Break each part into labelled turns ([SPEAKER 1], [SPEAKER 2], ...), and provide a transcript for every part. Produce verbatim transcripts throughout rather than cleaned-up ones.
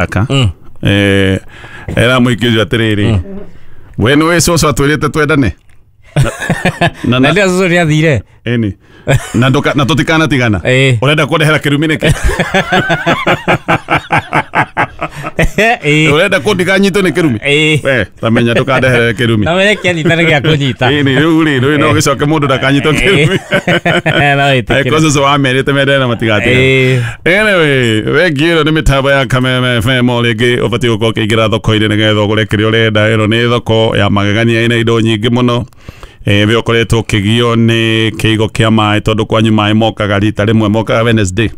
[SPEAKER 1] Aka eh era muikio atiriri we nĩ wĩ cũcũ atwĩrĩte twendane
[SPEAKER 2] na na cũcũ nĩ athire
[SPEAKER 1] ĩni na nduka na tũtikanatigana ũrenda kũndehera kĩrumi nĩkĩ ũrenda kũndiganyitwo nĩ kĩrumi we tamenya ndũkandehere kĩrumi
[SPEAKER 2] na menye kĩanyita nĩ gĩa kũnyita
[SPEAKER 1] ĩni rĩu rĩ rĩu no gĩcoke mũndũ ndakanyitwo kĩrumi
[SPEAKER 2] no ĩtĩkĩre
[SPEAKER 1] angĩkorwo cũcũ wamerĩte mendane na matigatigana. Anyway, wengi ĩno nĩ mĩtambo ya Kameme F M o rĩngĩ ũbatiĩ gũkorwo ũkĩingĩra thoko-inĩ nĩgetha ũgũre kĩrĩa ũrenda. Ĩno nĩ thoko ya magegania ĩna indo nyingĩ mũno. Eh we ũkoretwo ũkĩgio nĩ kĩigo kĩa maĩ tondũ kwanyu maĩ mokaga rita rĩmwe, mokaga Wednesday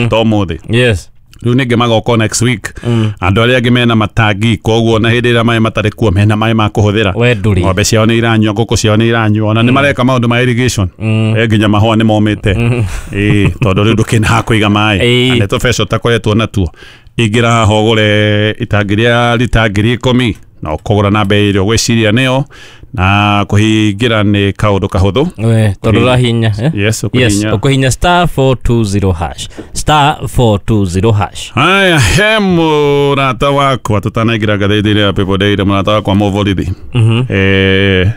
[SPEAKER 1] to ũmũthĩ.
[SPEAKER 2] Yes.
[SPEAKER 1] Rĩu ningĩ magoka next week. Andũ arĩa angĩ mena matangi koguo na hĩndĩ ĩrĩa maĩ matarĩ kuo mena maĩ ma kũhũthĩra. Ng'ombe ciao nĩ iranyua, ngũkũ ciao nĩ iranyua, ona nĩ mareka maũndũ ma irrigation. Eh nginya mahũa nĩ momĩte. Ĩĩ tondũ rĩu ndũkĩna ha kũiga maĩ. Na nĩ tũbeca ũtakoretwo natuo. Ingĩra haha ũgũre itangi rĩa rita ngiri ikũmi na ũkũgũra na bei ĩrĩa ũgwĩciria nĩyo na kũhingĩra nĩ kaũndũ kahũthũ.
[SPEAKER 2] We tondũ ũrahihinya.
[SPEAKER 1] Yes, ũkũhihinya.
[SPEAKER 2] Yes, ũkũhihinya star four two zero hash. Star four two zero hash.
[SPEAKER 1] Haya, he mũrata wakwa tũtanaingĩra ngathĩti-inĩ ya People Daily, mũrata wakwa mũborithi. Eh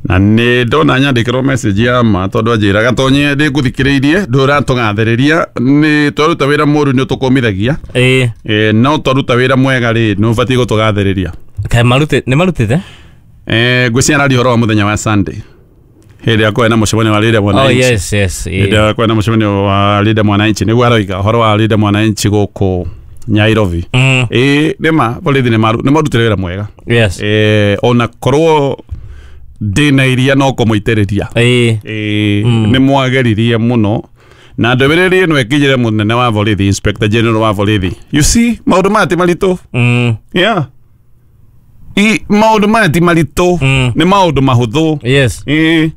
[SPEAKER 1] na nĩ ndona nyandĩkĩrwo message ya ma tondũ anjĩraga tonye ndĩngũthikĩrĩirie ndũratũgathĩrĩria nĩ twaruta wĩra mũru nĩ ũtũkũmithagia.
[SPEAKER 2] Ĩĩ.
[SPEAKER 1] Eh no twaruta wĩra mwega rĩ nĩ ũbatiĩ gũtũgathĩrĩria.
[SPEAKER 2] Kaĩ marutĩte nĩ marutĩte?
[SPEAKER 1] Eh ngwĩciria araria ũhoro wa mũthenya wa Sunday hĩndĩ ĩrĩa kwarĩ na mũcemanio wa Linda Mwananchi.
[SPEAKER 2] Oh yes, yes.
[SPEAKER 1] Hĩndĩ ĩrĩa kwarĩ na mũcemanio wa Linda Mwananchi nĩguo aroiga ũhoro wa Linda Mwananchi gũkũ Nairobi. Ĩĩ nĩma borithi nĩ marutire wĩra mwega.
[SPEAKER 2] Yes.
[SPEAKER 1] Eh ona korwo ndĩna iria no kũmũitĩrĩria.
[SPEAKER 2] Ĩĩ.
[SPEAKER 1] Ĩĩ nĩ mwageririe mũno na ndũmĩrĩri ĩno ĩkinyĩre mũnene wa borithi, Inspector General wa borithi. You see maũndũ maya ti maritũ. Yeah. I maũndũ maya ti maritũ nĩ maũndũ mahũthũ.
[SPEAKER 2] Yes.
[SPEAKER 1] Ĩĩ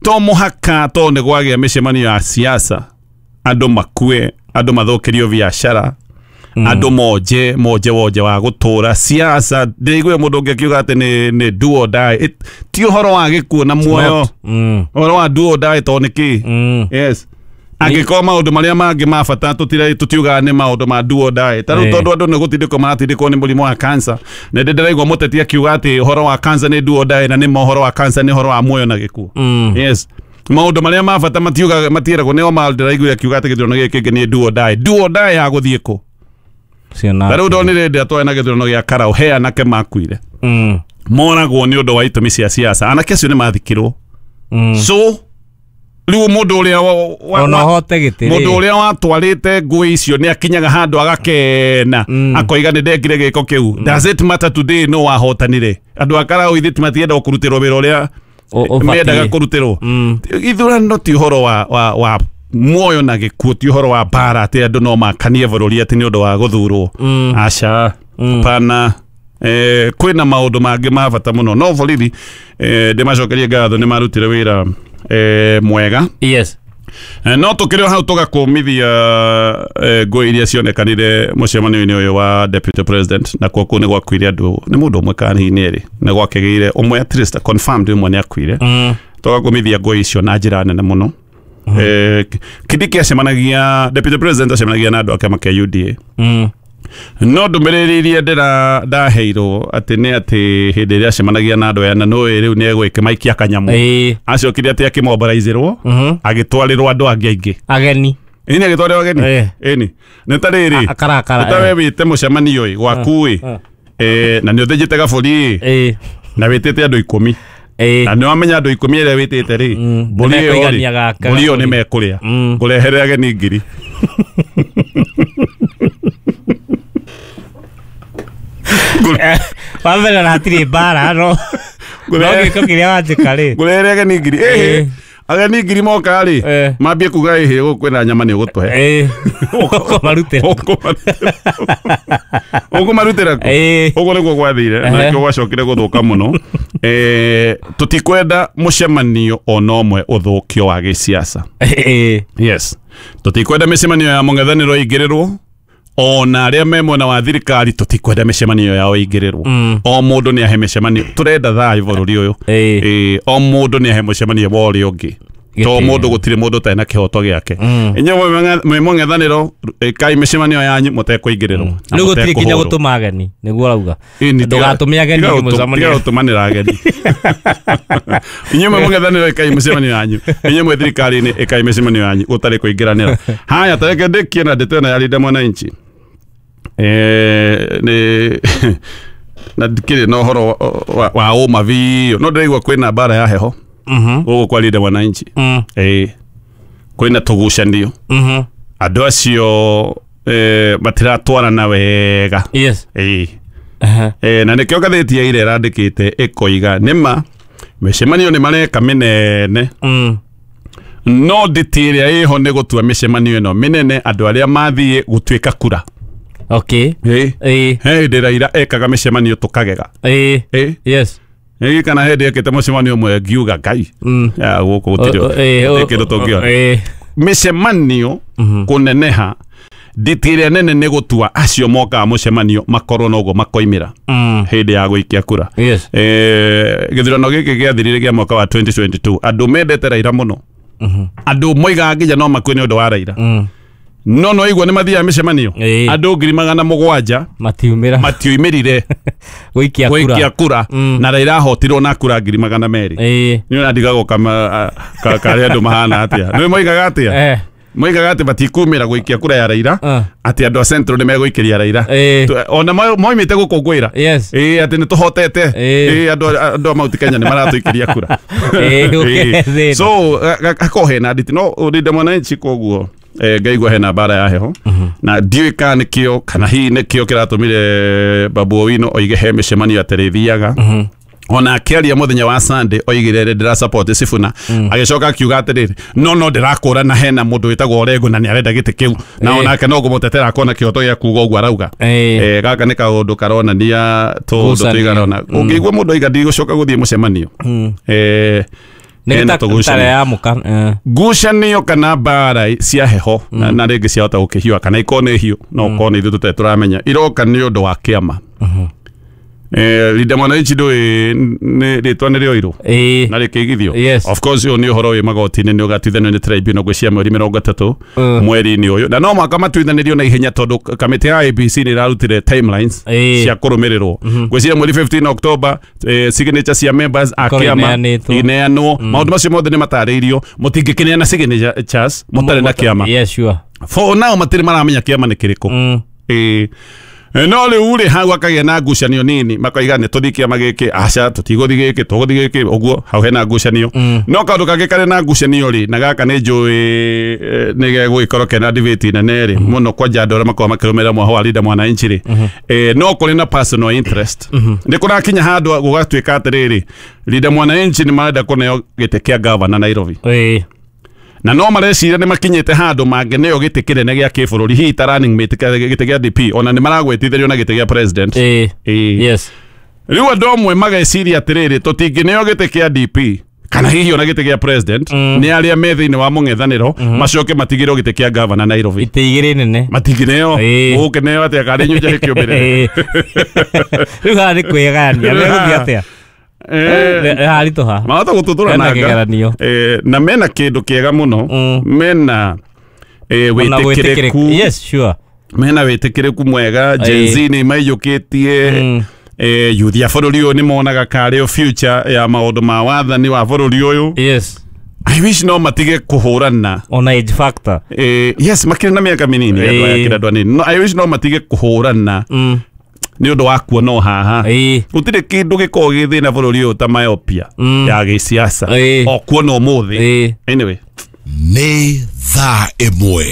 [SPEAKER 1] to mũhaka to nĩ gwagĩa mĩcemanio ya siasa andũ makue, andũ mathũkĩrio biacara, andũ monje monje wonje wa gũtũra siasa. Ndĩraigua mũndũ ũngĩ akiuga atĩ nĩ nĩ do or die. Ti ũhoro wa gĩkuũ na muoyo, ũhoro wa do or die to nĩ kĩ. Yes. Angĩkorwo maũndũ marĩa mangĩ ma bata tũtiugaga nĩ maũndũ ma do or die. Ta rĩu tondũ andũ nĩ gũtindĩkwo maratindĩkwo nĩ mũrimũ wa cancer, nĩ ndĩ ndĩraigua mũteti akiuga atĩ ũhoro wa cancer nĩ do or die, na nĩ ma ũhoro wa cancer nĩ ũhoro wa muoyo na gĩkuũ. Yes. Maũndũ marĩa ma bata matiugaga matieragwo nĩo ma ndĩraiguire akiuga atĩ gĩthurano gĩkĩ kĩngĩ nĩ do or die. Do or die ya gũthiĩ kũ? Ta rĩu ndonire hĩndĩ ĩrĩa twarĩ na gĩthurano gĩa Karau, he anake makuire. Moragwo nĩ ũndũ wa itũmi cia siasa. Anake acio nĩ mathikirwo. So rĩu mũndũ ũrĩa
[SPEAKER 2] ona hote gĩtĩ
[SPEAKER 1] mũndũ ũrĩa watwarĩte ngũĩ icio nĩ akinyaga handũ agakena akoiga nĩ ndekire gĩko kĩu. Does it matter today no wahotanire? Andũ a Karau ithe matienda kũrutĩrwo wĩra ũrĩa mendaga kũrutĩrwo. Ithurano ti ũhoro wa wa wa muoyo na gĩkuũ, ti ũhoro wa mbara atĩ andũ no makanie bũrũri atĩ nĩ ũndũ wa gũthurwo. Aca, pana. Eh kwĩna maũndũ mangĩ ma bata mũno. No borithi eh ndĩmacokerie ngatho nĩ marutire wĩra eh mwega.
[SPEAKER 2] Yes.
[SPEAKER 1] No tũkĩrĩ o hau tũgakũmithia ngũĩ iria cionekanire mũcemanio-inĩ ũyũ wa Deputy President, na kuo kũu nĩ gwakuire andũ nĩ mũndũ ũmwe kana hihi nĩ erĩ nĩ gwakĩgĩire ũmwe at least confirmed ũmwe nĩ akuire. Tũgakũmithia ngũĩ icio na njĩra nene mũno. Eh Kindiki acemanagia, Deputy President acemanagia na andũ a kĩama kĩa U D A. No ndũmĩrĩri iria ndĩra ndaheirwo atĩ nĩ atĩ hĩndĩ ĩrĩa acemanagia na andũ aya na nũĩ rĩu nĩ egwĩkĩmaikia kanyamũ. Acokire atĩ akĩmombaraizĩrwo agĩtwarĩrwo andũ angĩ aingĩ
[SPEAKER 2] ageni.
[SPEAKER 1] Ĩni agĩtwarĩrwo ageni. Ĩni nĩ ta rĩrĩ
[SPEAKER 2] akarakara
[SPEAKER 1] nĩ ta we wĩte mũcemanio ĩ gwaku ĩ na nĩ ũthĩnjĩte gabũri ĩ na wĩtĩte andũ ikũmi na nĩ wamenya andũ ikũmi ĩrĩa wĩtĩte rĩ mbũri ĩyo rĩ mbũri ĩyo nĩ mekũrĩa ngũrehere ageni ngiri.
[SPEAKER 2] Wambere na hatirĩ mbara no no gĩko kĩrĩa wanjĩka rĩ
[SPEAKER 1] ngũrehere ageni ngiri. Ĩhĩ ageni ngiri moka rĩ mambie kuga ĩhĩ gũkũ kwĩna nyama nĩ ũgũtũhe.
[SPEAKER 2] Ũkũmarutĩra
[SPEAKER 1] ũkũmarutĩra kũ? Ũguo nĩguo gwathire na nĩkĩo gwacokire gũthũka mũno. Eh tũtikwenda mũcemanio ona ũmwe ũthũkio wa gĩsiasa. Yes. Tũtikwenda mĩcemanio ya mũng'ethanĩro ĩingĩrĩrwo ona arĩa me mwena wa thirikari tũtikwenda mĩcemanio yao ĩingĩrĩrwo. O mũndũ nĩ ahe mĩcemanio, tũrenda thayũ bũrũri ũyũ. O mũndũ nĩ ahe mũcemanio wa ũrĩa ũngĩ. To mundu gutire mundu tena kihoto giake. Inyuĩ mwĩ mũng'ethanĩro ĩkai mĩcemanio yanyu mũtekũingĩrĩrwo.
[SPEAKER 2] Rĩu gũtirĩ nginya gũtũma ageni nĩguo ũrauga. Ndũgatũme ageni mũcemanio.
[SPEAKER 1] Tiga gũtũmanĩra ageni. Inyuĩ mwĩ mũng'ethanĩro ĩkai mĩcemanio yanyu. Inyuĩ mwĩ thirikari-inĩ ĩkai mĩcemanio yanyu gũtarĩ kũingĩranĩra. Haya tareke ndĩkie na ndeto ĩno ya Linda Mwananchi. Eh nĩ na ndikĩrĩ na ũhoro wa ũma biũ no ndĩraigua kwĩna mbara ya heho.
[SPEAKER 2] Mhm.
[SPEAKER 1] Gũkũ kwa Linda Mwananchi.
[SPEAKER 2] Mm.
[SPEAKER 1] Eh kwĩna tũgucanio.
[SPEAKER 2] Mhm.
[SPEAKER 1] Andũ acio eh matiratwarana wega.
[SPEAKER 2] Yes.
[SPEAKER 1] Eh.
[SPEAKER 2] Uh-huh.
[SPEAKER 1] Eh na nĩkĩo ngathĩti ya ira ĩrandĩkĩte ĩkoiga nĩma mĩcemanio nĩ mareka mĩnene.
[SPEAKER 2] Mm.
[SPEAKER 1] No nditi ĩrĩa ĩho nĩ gũtua mĩcemanio ĩno mĩnene andũ arĩa mathiĩ gũtuĩka kura.
[SPEAKER 2] Okay.
[SPEAKER 1] Eh.
[SPEAKER 2] Eh.
[SPEAKER 1] He hĩndĩ Raila ekaga mĩcemanio tũkagega.
[SPEAKER 2] Eh.
[SPEAKER 1] Eh.
[SPEAKER 2] Yes.
[SPEAKER 1] Ĩ kana hĩndĩ ekĩte mũcemanio ũmwe ngiuga Ngai.
[SPEAKER 2] Mm.
[SPEAKER 1] Ya gũkũ gũtirĩ kĩndũ tũngĩona.
[SPEAKER 2] Eh.
[SPEAKER 1] Mĩcemanio kũneneha nditi ĩrĩa nene nĩ gũtua acio mokaga mũcemanio makorwo noguo makoimĩra
[SPEAKER 2] Mm.
[SPEAKER 1] hĩndĩ ya gũikia kura.
[SPEAKER 2] Yes.
[SPEAKER 1] Eh gĩthurano gĩkĩ gĩathirire kĩa mwaka wa twenty twenty-two andũ mendete Raila mũno.
[SPEAKER 2] Mhm.
[SPEAKER 1] Andũ moigaga nginya no makue nĩ ũndũ wa Raila.
[SPEAKER 2] Mm.
[SPEAKER 1] No no igua nĩ mathiaga mĩcemanio andũ ngiri magana mũgwanja
[SPEAKER 2] matiumĩra
[SPEAKER 1] matiumĩrire
[SPEAKER 2] gũikia kura
[SPEAKER 1] gũikia kura
[SPEAKER 2] mm.
[SPEAKER 1] na Raila ahotirwo na kura ngiri magana merĩ.
[SPEAKER 2] Eh.
[SPEAKER 1] Nĩ ũrandigagwo kama karĩa andũ mahana atĩa. Nĩ moigaga atĩa?
[SPEAKER 2] Eh.
[SPEAKER 1] Moigaga atĩ matikumĩra gũikia kura ya Raila
[SPEAKER 2] uh.
[SPEAKER 1] atĩ andũ a Central nĩ megũikĩria Raila.
[SPEAKER 2] Eh.
[SPEAKER 1] Ona moimĩte gũkũngũĩra.
[SPEAKER 2] Yes.
[SPEAKER 1] Ĩĩ atĩ nĩ tũhotete.
[SPEAKER 2] Ĩĩ
[SPEAKER 1] andũ andũ a Mount Kenya nĩ maratũikĩria kura.
[SPEAKER 2] Ĩĩ.
[SPEAKER 1] So hakorwo hena nditi no Linda Mwananchi koguo eh ngaigua hena mbara ya heho na ndiũĩ kana nĩkĩo kana hihi nĩkĩo kĩratũmire Babu Owino oige he mĩcemanio atarĩthiaga. Ona akĩaria mũthenya wa Sunday oigire ndĩra support Sifuna agĩcoka akiuga atĩrĩrĩ no no ndĩrakũra na hena mũndũ wĩtagwo Orengo na nĩarenda gĩtĩ kĩu na onake no ngũmũtetera akona kĩhoto gĩa kuuga ũguo arauga. Eh gaka nĩ kaũndũ karonania tũũndũ tũigana ũna ũngĩigua mũndũ oiga ndigũcoka gũthiĩ mũcemanio eh ngucanio kana mbara cia heho na na rĩngĩ ciahota gũkĩhiũha kana ikorwo nĩ hiũ no ũkorwo nĩ ithuĩ tũtarĩ tũramenya iroka nĩ ũndũ wa kĩama. Eh Linda Mwananchi ndũĩ nĩ rĩtwa nĩ rĩoirwo na rĩkĩigithio.
[SPEAKER 2] Yes.
[SPEAKER 1] Of course ũyũ nĩ ũhoro wĩ magoti-inĩ nĩ ũgatuithanio nĩ tribunal gwĩcia mweri mĩrongo ĩtatũ mweri-inĩ ũyũ na no mũhaka matuithanĩrio na ihenya tondũ kamĩtĩ ya A B C nĩ ĩrarutire timelines cia kũrũmĩrĩrwo gwĩciria mweri fifteen October eh, signature cia members a kĩama ineanwo maũndũ macio mothe nĩ matarĩirio mũtingĩkĩneana signatures mũtarĩ na kĩama.
[SPEAKER 2] Yes, sure.
[SPEAKER 1] For now matirĩ maramenya kĩama nĩ kĩrĩkũ. Eh no rĩu rĩ hau akagĩa na ngucanio nini makoiga nĩ tũthiĩ kĩama gĩkĩ aca tũtigũthiĩ gĩkĩ tũgũthiĩ gĩkĩ ũguo hau hena ngucanio. No kaũndũ kangĩ karĩ na ngucanio rĩ na gaka nĩ njũĩ nĩ gegũgĩkorwo kena debate nene rĩ mũno kwanja andũ arĩa makoragwo makĩrũmĩrĩra mwaho wa Linda Mwananchi rĩ eh no kũrĩ na personal interest nĩ kũrakinya handũ gũgatuĩka atĩrĩrĩ Linda Mwananchi nĩ marenda kũneo gĩtĩ kĩa gavana Nairobi.
[SPEAKER 2] Eh.
[SPEAKER 1] Na no mareciria nĩ makinyĩte handũ mangĩneo gĩtĩ kĩnene gĩa kĩbũrũri hihi ta running mate gĩtĩ gĩa D P ona nĩ maragwetithĩrio na gĩtĩ gĩa president.
[SPEAKER 2] Eh.
[SPEAKER 1] Eh.
[SPEAKER 2] Yes.
[SPEAKER 1] Rĩu andũ amwe mageciria atĩrĩrĩ tũtingĩneo gĩtĩ kĩa D P kana hihi ona gĩtĩ gĩa president nĩ arĩa me thĩinĩ wa mũng'ethanĩro macoke matigĩrwo gĩtĩ kĩa gavana Nairobi.
[SPEAKER 2] Itĩ igĩrĩ nene.
[SPEAKER 1] Matingĩneo gũkĩneo atĩa karĩ nyũnja ĩkĩũmĩrĩre.
[SPEAKER 2] Rĩu haha nĩ kwĩgayania megũthiĩ atĩa?
[SPEAKER 1] Eh
[SPEAKER 2] haritũha
[SPEAKER 1] mahota gũtũtũra nanga eh na mena kĩndũ kĩega mũno mena eh wĩtĩkĩrĩku.
[SPEAKER 2] Yes, sure.
[SPEAKER 1] Mena wĩtĩkĩrĩku mwega Gen Z nĩ maiyũkĩtie eh youth ya bũrũri ũyũ nĩ monaga karĩ future ya maũndũ ma wathani wa bũrũri ũyũ.
[SPEAKER 2] Yes.
[SPEAKER 1] I wish no matige kũhũrana
[SPEAKER 2] ona age factor.
[SPEAKER 1] Eh yes makĩrĩ na mĩaka mĩnini andũ aya kĩrĩ andũ anini no I wish no matige kũhũrana nĩ ũndũ wa kuona o haha gũtirĩ kĩndũ gĩkoragwo gĩ thĩna bũrũri ũyũ ta myopia ya gĩsiasa o kuona ũmũthĩ. Anyway
[SPEAKER 3] nĩ thaa ĩmwe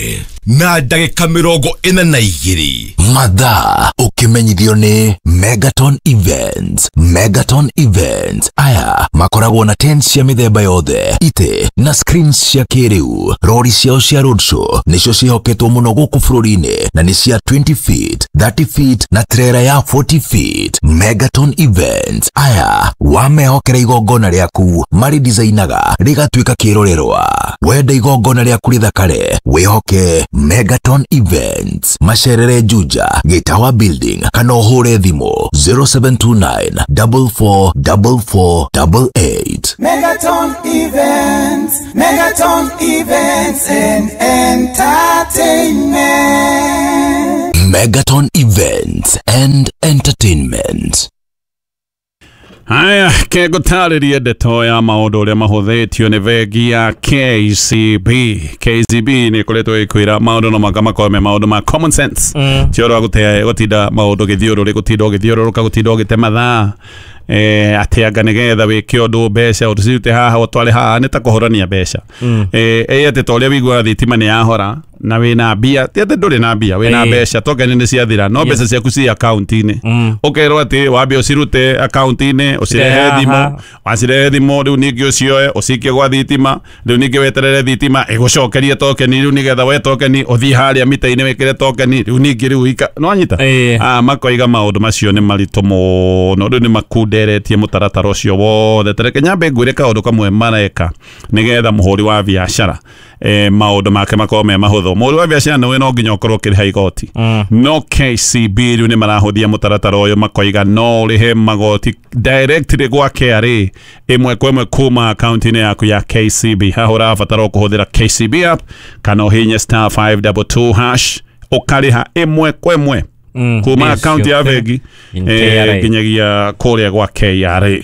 [SPEAKER 3] na ndagĩka mĩrongo ĩna na igĩrĩ mathaa ũkĩmenyithio nĩ Megaton Events. Megaton Events aya makoragwo na tents cia mĩthemba yothe itĩ na screens cia kĩrĩu. Rori ciao cia roadshow nĩcio ciĩhoketwo mũno gũkũ bũrũri-inĩ na nĩ cia twenty feet, thirty feet na trailer ya forty feet. Megaton Events aya wamehokera igongona rĩaku marĩdesignaga rĩgatuĩka kĩrorerwa. Wenda igongona rĩaku rĩthakare wĩhoke Megaton Events. Macerere Juja Gĩtawa Building kana ũhũre thimũ zero seven two nine double four double four double eight.
[SPEAKER 4] Megaton Events, Megaton Events and Entertainment.
[SPEAKER 3] Megaton Events and Entertainment.
[SPEAKER 1] Haya, kegũtarĩrie ndeto ya maũndũ ũrĩa mahũthĩtio nĩ bengi ya K C B. K C B nĩ ĩkoretwo ĩkwĩra maũndũ no maka makorwo me maũndũ ma common sense. Mm. Ti ũhoro wa gũte gũtinda maũndũ gĩthiũrũrĩ, gũtinda ũgĩthiũrũrũka, gũtinda ũgĩte mathaa. Eh, atĩ anga nĩgetha wĩke ũndũ mbeca ũcirute haha ũtware haha nĩ ta kũhorania mbeca. Mm. Eh, ĩ atĩ ta ũrĩa wĩiguaga thitima nĩ yahora na wĩna mbia, ti atĩ ndũrĩ na mbia, wĩna mbeca tokeni nĩ ciathira, no mbeca ciaku ci akaunti-inĩ. Ũkerwo atĩ wambe ũcirute akaunti-inĩ, ũcirehe thimũ, wacirehe thimũ rĩu ningĩ ũcioe ũcikie gwa thitima, rĩu ningĩ weterere thitima ĩgũcokerie tokeni, rĩu nĩgetha we tokeni ũthiĩ harĩa mita-inĩ wĩkĩre tokeni, rĩu ningĩ rĩu ika no anyita. Ah, makoiga maũndũ macio nĩ maritũ mũno, rĩu nĩ makunderetie mũtaratara ũcio wothe. Tareke nyambe ngwĩre kaũndũ kamwe mareka nĩgetha mũhũri wa biacara eh, maũndũ make makorwo me mahũthũ. Mũhũri wa biacara nĩwe no nginya ũkorwo ũkĩrĩha igoti. Mm. No K C B rĩu nĩ marahũthia mũtaratara ũyũ, makoiga no ũrĩhe magoti directly gwa K R A ĩmwe kwa ĩmwe kuma akaunti-inĩ yaku ya K C B. Haha ũrabatara kũhũthĩra K C B app kana ũhihinye star five double two hash ũkarĩha ĩmwe kwa ĩmwe mm, kuma akaunti ya bengi nginyagia kũrĩa gwa K R A.